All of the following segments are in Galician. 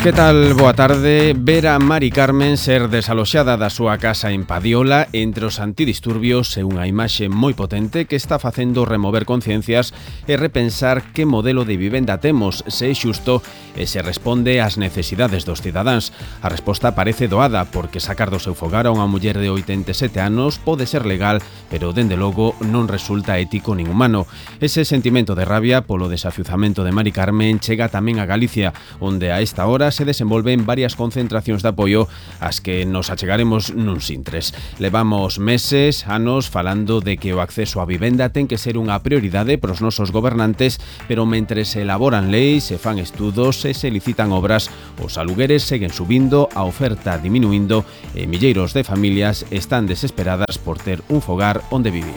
Que tal? Boa tarde. Ver a Mari Carmen ser desaloxada da súa casa en Padiola entre os antidisturbios é unha imaxe moi potente que está facendo remover conciencias e repensar que modelo de vivenda temos, se é xusto e se responde ás necesidades dos cidadáns. A resposta parece doada porque sacar do seu fogar a unha muller de 87 anos pode ser legal, pero dende logo non resulta ético nin humano. Ese sentimento de rabia polo desafiuzamento de Mari Carmen chega tamén a Galicia, onde a esta hora se desenvolven varias concentracións de apoio ás que nos achegaremos nuns intres. Levamos meses, anos, falando de que o acceso á vivenda ten que ser unha prioridade para os nosos gobernantes, pero mentre se elaboran leis, se fan estudos e se licitan obras, os alugueres seguen subindo, a oferta diminuindo e milleiros de familias están desesperadas por ter un fogar onde vivir.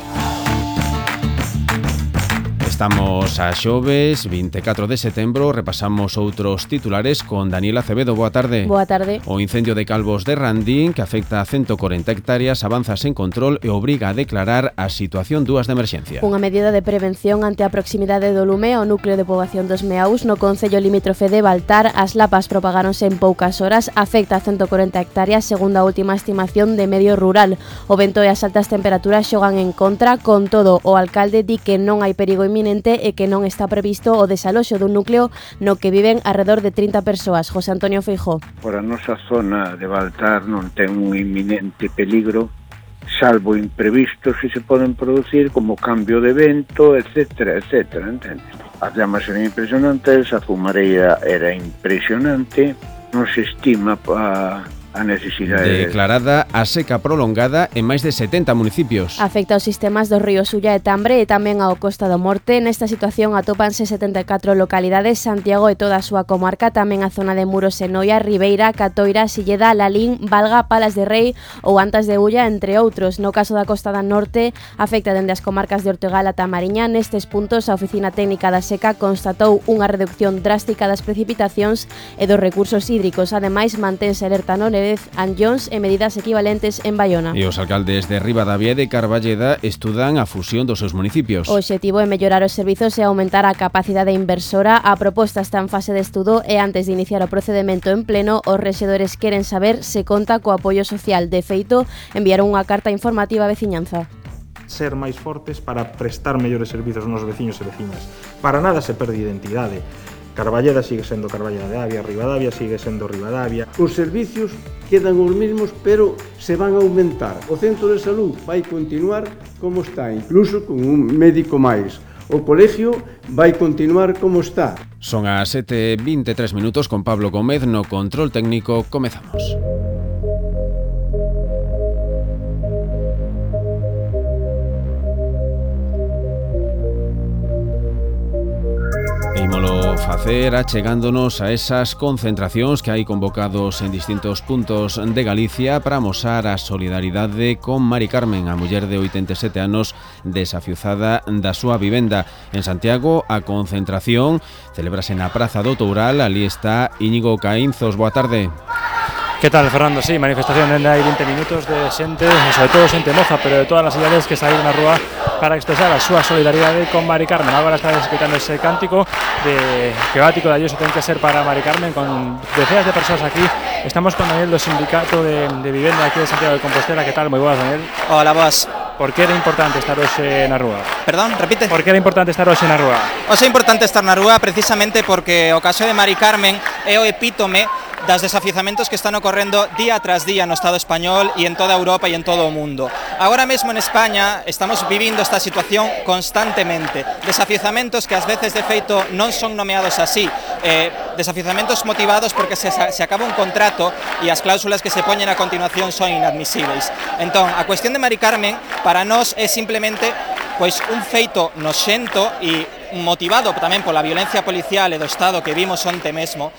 Estamos a xoves, 24 de setembro, repasamos outros titulares con Daniela Acevedo. Boa tarde. Boa tarde. O incendio de Calvos de Randín, que afecta a 140 hectáreas, avanza sen control e obriga a declarar a situación 2 de emerxencia. Unha medida de prevención ante a proximidade do lume ao núcleo de poboación dos Meaus no concello limítrofe de Baltar. As lapas propagáronse en poucas horas, afecta a 140 hectáreas segundo a última estimación de Medio Rural. O vento e as altas temperaturas xogan en contra, con todo o alcalde di que non hai perigo inminente e que non está previsto o desaloxo dun núcleo no que viven alrededor de 30 persoas. José Antonio Feijóo. Por a nosa zona de Baltar non ten un inminente peligro, salvo imprevistos que se poden producir como cambio de vento, etcétera, etcétera, entende? As llamas eran impresionantes, a fumareira era impresionante, non se estima a necesidade. Declarada a seca prolongada en máis de 70 municipios. Afecta aos sistemas do río Sulla e Tambre e tamén ao Costa do Morte. Nesta situación atópanse 74 localidades, Santiago e toda a súa comarca, tamén a zona de Muros e Noia, Ribeira, Catoira, Silleda, Lalín, Valga, Palas de Rei ou Antas de Ulla, entre outros. No caso da Costa do Norte, afecta dende as comarcas de Ortegal a Tamariña. Nestes puntos, a Oficina Técnica da Seca constatou unha reducción drástica das precipitacións e dos recursos hídricos. Ademais, mantense alerta no Anllóns e medidas equivalentes en Baiona. E os alcaldes de Ribadavia e de Carballeda estudan a fusión dos seus municipios. O obxectivo é mellorar os servizos e aumentar a capacidade inversora. A proposta está en fase de estudo e antes de iniciar o procedemento en pleno, os rexedores queren saber se conta co apoio social. De feito, enviaron unha carta informativa á veciñanza. Ser máis fortes para prestar mellores servizos aos veciños e veciñas. Para nada se perde identidade. Carballeda sigue sendo Carballeda de Avia, Ribadavia sigue sendo Ribadavia. Os servicios quedan os mesmos, pero se van a aumentar. O centro de salud vai continuar como está, incluso con un médico máis. O colegio vai continuar como está. Son as 7:23 minutos con Pablo Gómez no control técnico. Comezamos. Ímolo facer achegándonos a esas concentracións que hai convocados en distintos puntos de Galicia para amosar a solidaridade con Mari Carmen, a muller de 87 anos desafiuzada da súa vivenda. En Santiago, a concentración celébrase na Praza do Toural. Ali está Íñigo Caínzos. Boa tarde. Que tal, Fernando? Sí, manifestación dende hai 20 minutos de xente, sobre todo xente moza, pero de todas as idades que saíron na rúa para expresar a súa solidaridade con Mari Carmen. Agora está escutando ese cántico de que o ático de Ayuso ten que ser para Mari Carmen, con decenas de persoas aquí. Estamos con Daniel do Sindicato de Vivenda aquí de Santiago de Compostela. Que tal? Moi boas, Daniel. Hola, boas. Por que era importante estar hoxe na rúa? Perdón, repite. Por que era importante estar hoxe na rúa? Hoxe é importante estar na rúa precisamente porque o caso de Mari Carmen é o epítome das desafiuzamentos que están ocorrendo día tras día no Estado español e en toda Europa e en todo o mundo. Agora mesmo en España estamos vivindo esta situación constantemente. Desafiuzamentos que ás veces de feito non son nomeados así. Desafiuzamentos motivados porque se acaba un contrato e as cláusulas que se poñen a continuación son inadmisibles. Entón, a cuestión de Mari Carmen para nós é simplemente pois un feito noxento e motivado tamén pola violencia policial e do Estado que vimos onte mesmo,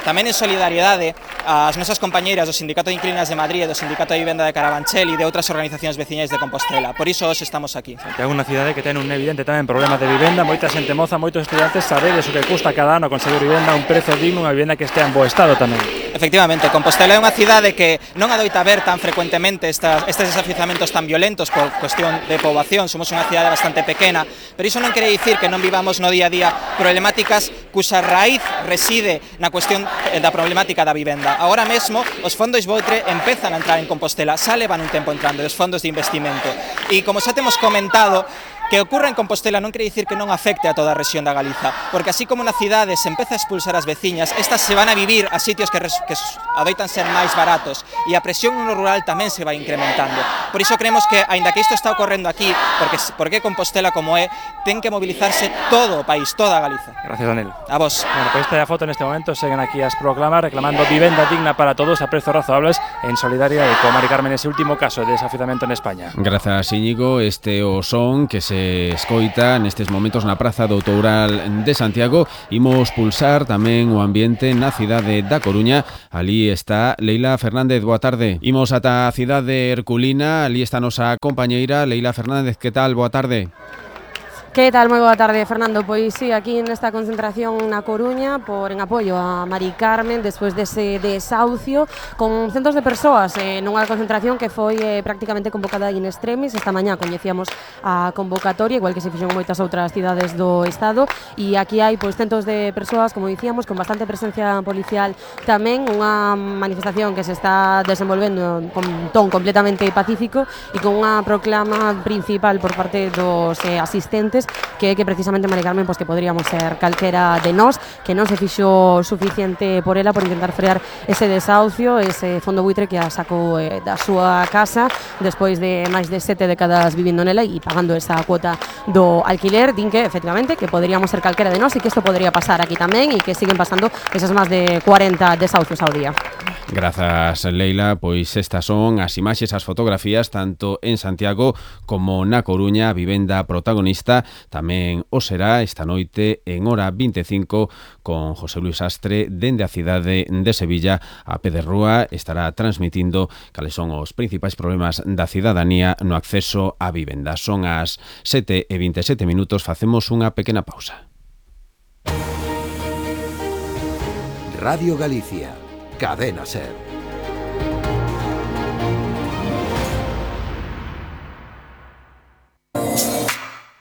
tamén en solidariedade ás nosas compañeiras do Sindicato de Inquilinas de Madrid e do Sindicato de Vivenda de Carabanchel e de outras organizacións veciñais de Compostela. Por iso hoxe estamos aquí. Santiago é unha cidade que ten un evidente tamén problema de vivenda, moita xente moza, moitos estudantes, sabedes o que custa cada ano conseguir vivenda, un prezo digno, unha vivenda que estea en bo estado tamén. Efectivamente, Compostela é unha cidade que non adoita ver tan frecuentemente estes desafiuzamentos tan violentos por cuestión de poboación. Somos unha cidade bastante pequena, pero iso non quere dicir que non vivamos no día a día problemáticas cuxa raíz reside na cuestión da problemática da vivenda. Agora mesmo, os fondos Voutre empezan a entrar en Compostela, xa levan un tempo entrando, os fondos de investimento. E como xa temos comentado, que ocurra en Compostela non quere dicir que non afecte a toda a rexión da Galiza, porque así como na cidade se empeza a expulsar as veciñas, estas se van a vivir a sitios que adoitan ser máis baratos e a presión no rural tamén se vai incrementando. Por iso creemos que, aínda que isto está ocorrendo aquí, porque Compostela como é, ten que mobilizarse todo o país, toda a Galiza. Gracias, Daniel. A vos. Bueno, pues esta foto en este momento seguen aquí as proclamas reclamando vivenda digna para todos a prezos razoables en solidaria e con Mari Carmen ese último caso de desafiuzamento en España. Grazas, Íñigo. Este o son que se escoita nestes momentos na Praza do Toural de Santiago. Imos pulsar tamén o ambiente na cidade da Coruña. Ali está Leila Fernández, boa tarde. Imos ata a cidade herculina, ali está a nosa compañeira Leila Fernández. Que tal? Boa tarde. Que tal? Moi boa tarde, Fernando. Pois sí, aquí nesta concentración na Coruña en apoio a Mari Carmen despois dese desahucio con centos de persoas nunha concentración que foi prácticamente convocada in extremis. Esta mañá coñecíamos a convocatoria, igual que se fixou en moitas outras cidades do Estado, e aquí hai pois centos de persoas, como dicíamos, con bastante presencia policial tamén, unha manifestación que se está desenvolvendo con ton completamente pacífico e con unha proclama principal por parte dos asistentes que precisamente Mari Carmen que podríamos ser calquera de nós, que non se fixo suficiente por ela por intentar frear ese desahucio, ese fondo buitre que a sacou da súa casa despois de máis de 7 décadas vivindo nela e pagando esa cuota do alquiler. Din que efectivamente que podríamos ser calquera de nós e que isto podría pasar aquí tamén e que siguen pasando esas máis de 40 desahucios ao día. Grazas, Leila. Pois estas son as imaxes, as fotografías tanto en Santiago como na Coruña. A vivenda protagonista tamén o será esta noite en hora 25 con José Luis Astre dende a cidade de Sevilla. A pé de rúa estará transmitindo cales son os principais problemas da cidadanía no acceso á vivenda. Son as 7:27 minutos, facemos unha pequena pausa. Radio Galicia, Cadena Ser.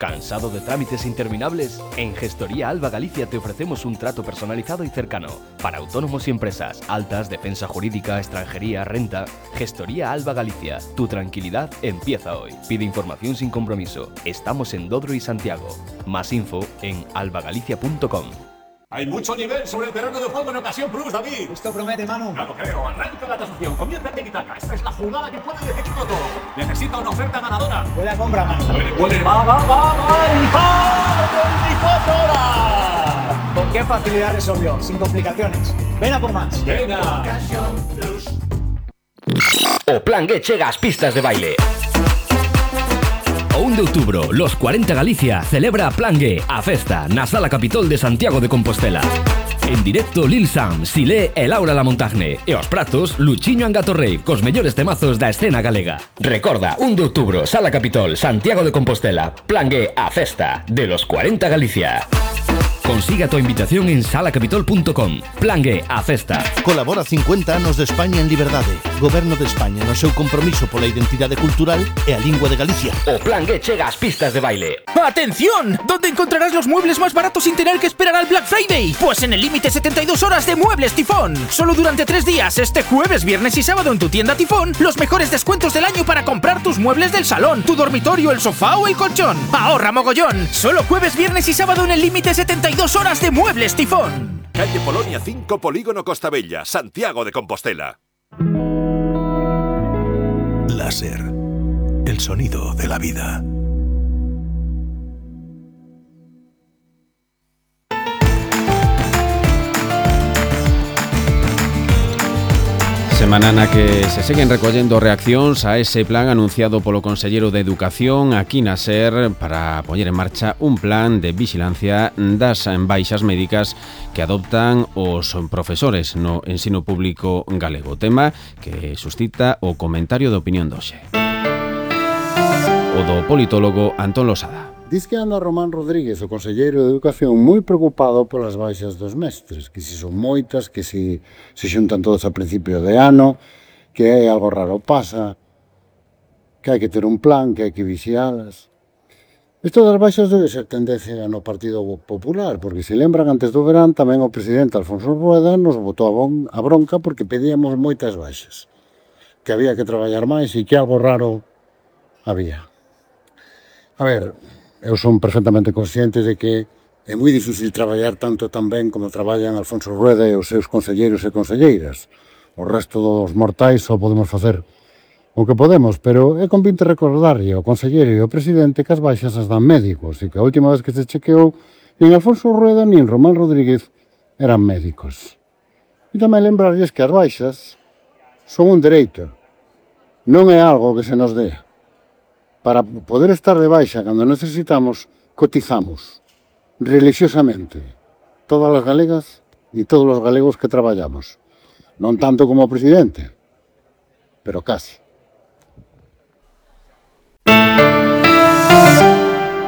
¿Cansado de trámites interminables? En Gestoría Alba Galicia te ofrecemos un trato personalizado y cercano para autónomos y empresas, altas, defensa jurídica, extranjería, renta. Gestoría Alba Galicia, tu tranquilidad empieza hoy. Pide información sin compromiso. Estamos en Dodro y Santiago. Más info en albagalicia.com. Hay mucho nivel sobre el terreno de juego en Ocasión Plus, David. Esto promete, Manu. No lo creo. Arranca la tasación. Comienza el tiki-taka. Esta es la jugada que puede decidirlo todo. Necesita una oferta ganadora. Buena compra, Manu. Puede. Va. ¡El 24 horas! ¿Con qué facilidad resolvió? Sin complicaciones. Ven a por más. Venga. Ocasión Plus. O Plan G chega ás pistas de baile. O 1 de outubro, los 40 Galicia celebra Plan G, a festa na Sala Capitol de Santiago de Compostela. En directo Lil Sam, Silé e Laura Lamontagne. E os pratos, Luchiño Angatorrei, cos mellores temazos da escena galega. Recorda, 1 de outubro, Sala Capitol, Santiago de Compostela. Plan G, a festa de los 40 Galicia. Consiga tu invitación en salacapitol.com. Plan G, a festa. Colabora 50 anos de España en liberdade. Goberno de España no seu compromiso pola identidade cultural e a lingua de Galicia. O Plan G chega ás pistas de baile. ¡Atención! ¿Dónde encontrarás los muebles más baratos sin tener que esperar al Black Friday? Pues en el límite 72 horas de Muebles Tifón. Solo durante 3 días, este jueves, viernes y sábado en tu tienda Tifón, los mejores descuentos del año para comprar tus muebles del salón, tu dormitorio, el sofá o el colchón. ¡Ahorra mogollón! Solo jueves, viernes y sábado en el límite 72 horas de Muebles Tifón. Calle Polonia 5, Polígono Costabella, Santiago de Compostela. Láser, el sonido de la vida. Semana na que se seguen recollendo reaccións a ese plan anunciado polo conselleiro de Educación aquí na SER para poñer en marcha un plan de vixilancia das baixas médicas que adoptan os profesores no ensino público galego. Tema que suscita o comentario de opinión doxe. O do politólogo Antón Losada. Diz que anda Román Rodríguez, o conselleiro de Educación, moi preocupado polas baixas dos mestres, que si son moitas, que si se xuntan todos a principio de ano, que algo raro pasa, que hai que ter un plan, que hai que vixialas. Isto das baixas debe ser tendencia no Partido Popular, porque se lembran antes do verán tamén o presidente Alfonso Rueda nos botou a bronca porque pedíamos moitas baixas, que había que traballar máis e que algo raro había. A ver, eu son perfectamente consciente de que é moi difícil traballar tanto tan ben como traballan Alfonso Rueda e os seus conselleiros e conselleiras. O resto dos mortais só podemos facer o que podemos, pero é convinte recordarlle ao conselleiro e ao presidente que as baixas as dan médicos e que a última vez que se chequeou nin Alfonso Rueda nin Román Rodríguez eran médicos. E tamén lembrarlles que as baixas son un dereito, non é algo que se nos dé. Para poder estar de baixa cando necesitamos, cotizamos religiosamente todas as galegas e todos os galegos que traballamos. Non tanto como o presidente, pero casi.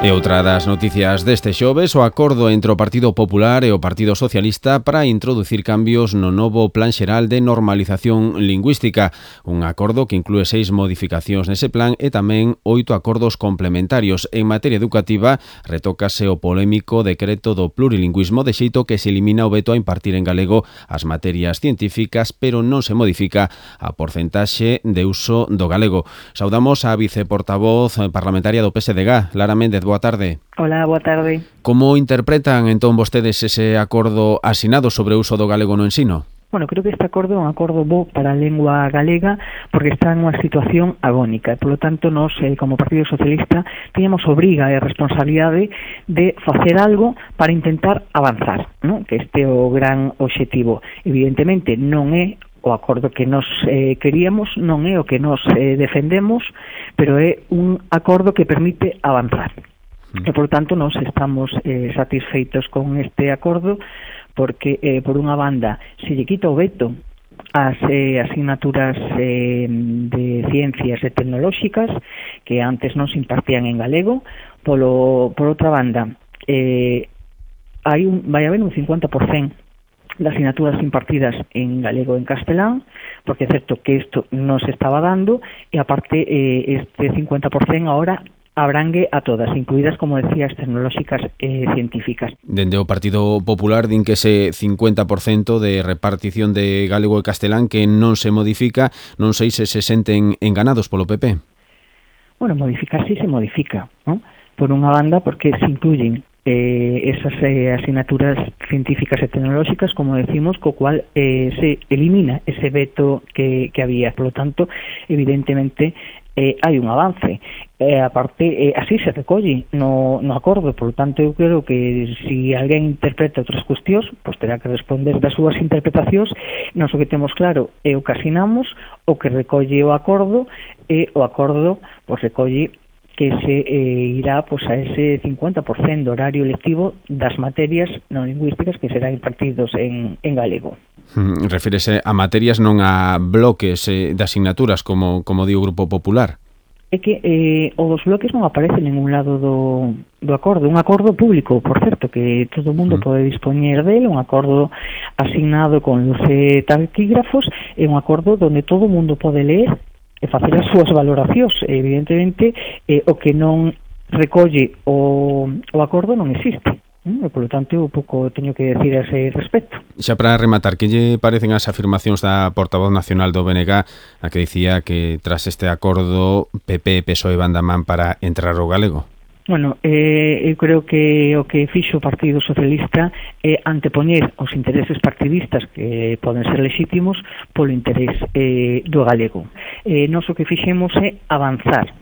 E outra das noticias deste xoves, o acordo entre o Partido Popular e o Partido Socialista para introducir cambios no novo Plan Xeral de Normalización Lingüística, un acordo que inclúe 6 modificacións nese plan e tamén 8 acordos complementarios. En materia educativa, retócase o polémico decreto do plurilingüismo de xeito que se elimina o veto a impartir en galego as materias científicas, pero non se modifica a porcentaxe de uso do galego. Saudamos a viceportavoz parlamentaria do PSDG, Lara Méndez. Boa tarde. Hola, boa tarde. Como interpretan entón vostedes ese acordo asinado sobre o uso do galego no ensino? Bueno, creo que este acordo é un acordo bo para a lengua galega porque está en unha situación agónica. Por lo tanto, nós, como Partido Socialista, teníamos obriga e responsabilidade de facer algo para intentar avanzar, ¿no? Que este é o gran obxectivo. Evidentemente, non é o acordo que nos queríamos, non é o que nos defendemos, pero é un acordo que permite avanzar. E, por tanto, nós estamos satisfeitos con este acordo porque, por unha banda, se lle quita o veto ás asignaturas de ciencias e tecnolóxicas que antes non se impartían en galego. Por outra banda, vai haber un 50% de asignaturas impartidas en galego e en castelán, porque é certo que isto non se estaba dando, e aparte este 50% agora abrangue a todas, incluídas, como decía, as tecnolóxicas e científicas. Dende o Partido Popular din que ese 50% de repartición de galego e castelán que non se modifica, non sei se senten enganados polo PP. Bueno, modificar sí se modifica, ¿no? Por unha banda, porque se incluyen esas asignaturas científicas e tecnolóxicas, como decimos, co cual se elimina ese veto que había. Por lo tanto, evidentemente, hai un avance. Aparte, así se recolle no acordo. Por lo tanto, eu creo que se alguén interpreta outras cuestións, pois terá que responder das súas interpretacións. Nós o que temos claro é o que asinamos, o que recolle o acordo, e o acordo pois recolle que se irá pois, a ese 50% do horario lectivo das materias non lingüísticas que serán impartidos en galego. Refírese a materias, non a bloques de asignaturas, como di o Grupo Popular? É que o dos bloques non aparece en ningún lado do acordo. Un acordo público, por certo, que todo o mundo pode dispoñer dele, un acordo asignado con luz e taquígrafos, é un acordo onde todo o mundo pode ler e facer as súas valoracións. Evidentemente, o que non recolle o acordo non existe. Por lo tanto, eu pouco teño que decir a ese respecto. Xa para rematar, que lle parecen as afirmacións da portavoz nacional do BNG, a que dicía que tras este acordo PP e PSOE van da man para entrar o galego? Bueno, eu creo que o que fixo o Partido Socialista é antepoñer os intereses partidistas que poden ser lexítimos polo interés do galego. Nós o que fixemos é avanzar,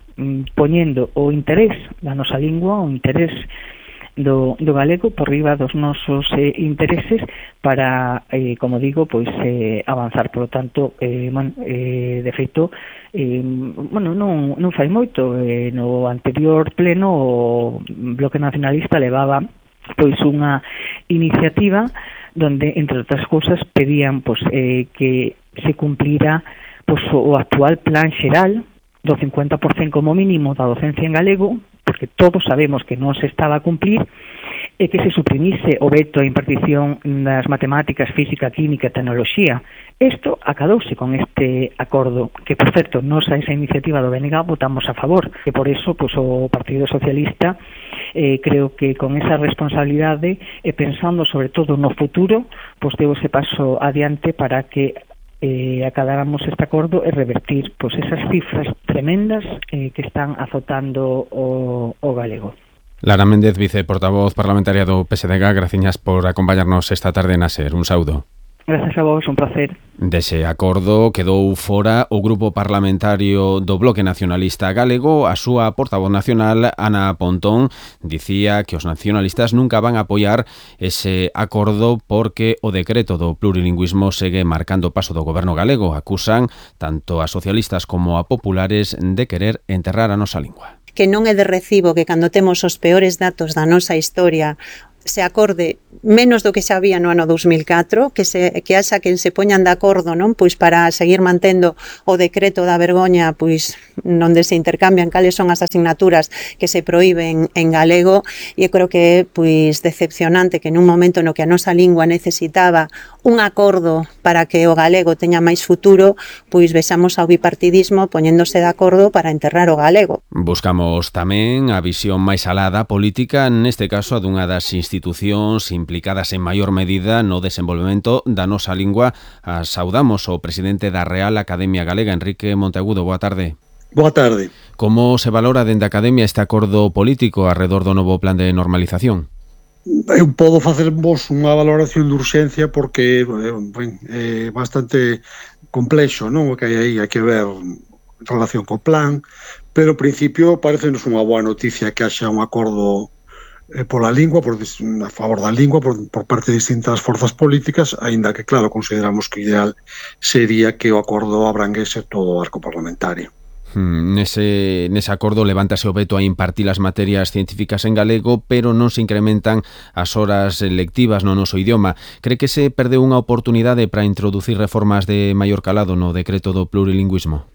poñendo o interés da nosa lingua, o interés do galego por riba dos nosos intereses para, como digo, pois avanzar. Por lo tanto, de feito, non fai moito. No anterior pleno o Bloque Nacionalista levaba pois unha iniciativa donde, entre outras cousas, pedían pois que se cumplira pois o actual plan xeral do 50% como mínimo da docencia en galego, porque todos sabemos que non se estaba a cumplir, e que se suprimise o veto a impartición das matemáticas, física, química e tecnoloxía. Isto acadouse con este acordo, que, por certo, nos a esa iniciativa do BNG votamos a favor, que por eso pues, o Partido Socialista creo que con esa responsabilidade e pensando sobre todo no futuro, pues deu ese paso adiante para que acadáramos este acordo e revertir pues, esas cifras tremendas que están azotando o galego. Lara Méndez, viceportavoz parlamentaria do PSDG, graciñas por acompañarnos esta tarde na SER. Un saúdo. Gracias a vos, un placer. Dese acordo quedou fora o grupo parlamentario do Bloque Nacionalista Galego. A súa portavoz nacional, Ana Pontón, dicía que os nacionalistas nunca van a apoiar ese acordo porque o decreto do plurilingüismo segue marcando o paso do goberno galego. Acusan tanto a socialistas como a populares de querer enterrar a nosa lingua. Que non é de recibo que cando temos os peores datos da nosa historia se acorde menos do que xa había no ano 2004, que haxa quen se poñan de acordo, non? Pois para seguir mantendo o decreto da vergoña, pois onde se intercambian cales son as asignaturas que se proíben en galego, e eu creo que é pois decepcionante que nun momento no que a nosa lingua necesitaba un acordo para que o galego teña máis futuro, pois vexamos ao bipartidismo poñéndose de acordo para enterrar o galego. Buscamos tamén a visión máis alada política, neste caso a dunha das institucións implicadas en maior medida no desenvolvemento da nosa lingua. Saudamos o presidente da Real Academia Galega, Enrique Monteagudo. Boa tarde. Boa tarde. Como se valora dende a Academia este acordo político arredor do novo plan de normalización? Eu podo facervos unha valoración de urxencia porque é bastante complexo, non? O que hai aí, hai que ver en relación co plan, pero ao principio parecenos unha boa noticia que haxa un acordo pola lingua, a favor da lingua por parte de distintas forzas políticas, aínda que, claro, consideramos que o ideal sería que o acordo abranguese todo o arco parlamentario. Nese acordo levántase o veto a impartir as materias científicas en galego, pero non se incrementan as horas lectivas no noso idioma. Cree que se perdeu unha oportunidade para introducir reformas de maior calado no decreto do plurilingüismo?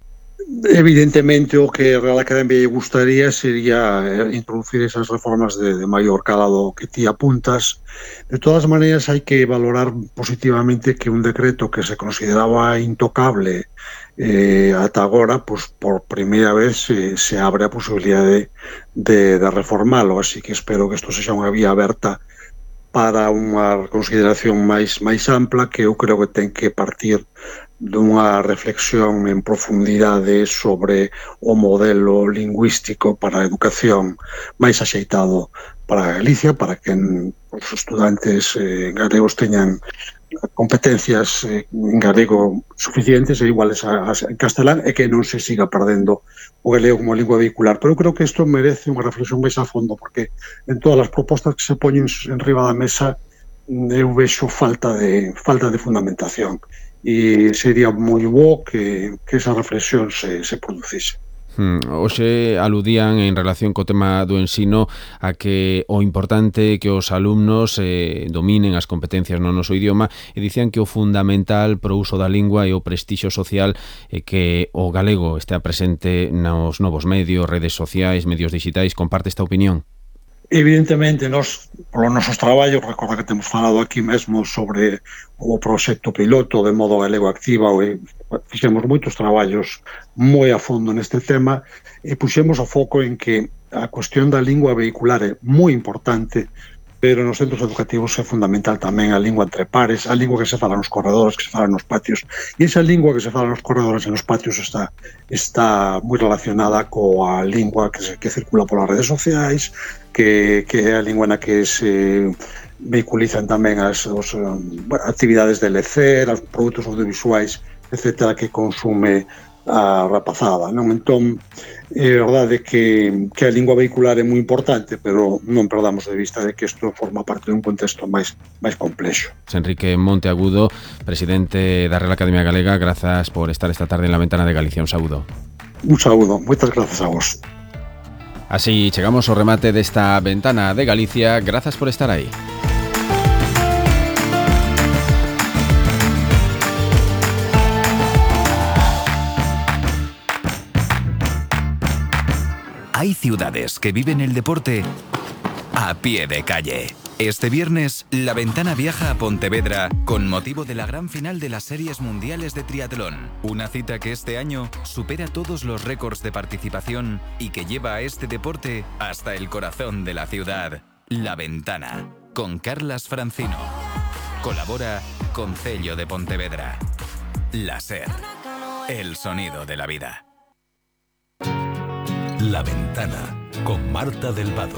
Evidentemente o que a Real Academia lle gustaría sería introducir esas reformas de maior calado que ti apuntas. De todas maneiras, hai que valorar positivamente que un decreto que se consideraba intocable ata agora, pues, por primeira vez se abre a posibilidade de reformalo, así que espero que isto sexa unha vía aberta para unha consideración máis ampla, que eu creo que ten que partir dunha reflexión en profundidade sobre o modelo lingüístico para a educación máis axeitado para Galicia, para que os estudantes galegos teñan competencias en galego suficientes e iguales en castelán, e que non se siga perdendo o galego como lingua vehicular. Pero eu creo que isto merece unha reflexión máis a fondo, porque en todas as propostas que se poñen en riba da mesa eu vexo falta de fundamentación, e sería moi bo que esa reflexión se producise. Hoxe aludían en relación co tema do ensino a que o importante é que os alumnos dominen as competencias no noso idioma, e dicían que o fundamental pro uso da lingua e o prestixio social é que o galego estea presente nos novos medios, redes sociais, medios digitais. Comparte esta opinión? Evidentemente, nós, polos nosos traballos, recorda que temos falado aquí mesmo sobre o proxecto piloto de Modo Galego Activa, e fixemos moitos traballos moi a fondo neste tema, e puxemos o foco en que a cuestión da lingua vehicular é moi importante, pero nos centros educativos é fundamental tamén a lingua entre pares, a lingua que se fala nos corredores, que se fala nos patios, e esa lingua que se fala nos corredores e nos patios está moi relacionada coa lingua que circula polas redes sociais, que é a lingua na que se vehiculizan tamén as actividades de lecer, os produtos audiovisuais, etcétera, que consume a rapazada, non? Entón, é verdade que a lingua vehicular é moi importante, pero non perdamos de vista de que isto forma parte dun contexto máis complexo. Enrique Monteagudo, presidente da Real Academia Galega, grazas por estar esta tarde en la Ventana de Galicia. Un saúdo. Un saúdo, moitas grazas a vos. Así chegamos ao remate desta Ventana de Galicia. Grazas por estar aí. Hai Hay ciudades que viven el deporte a pie de calle. Este viernes, La Ventana viaja a Pontevedra con motivo de la gran final de las Series Mundiales de Triatlón. Una cita que este año supera todos los récords de participación y que lleva a este deporte hasta el corazón de la ciudad. La Ventana, con Carlas Francino. Colabora Concello de Pontevedra. La SER, el sonido de la vida. La Ventana, con Marta del Vado.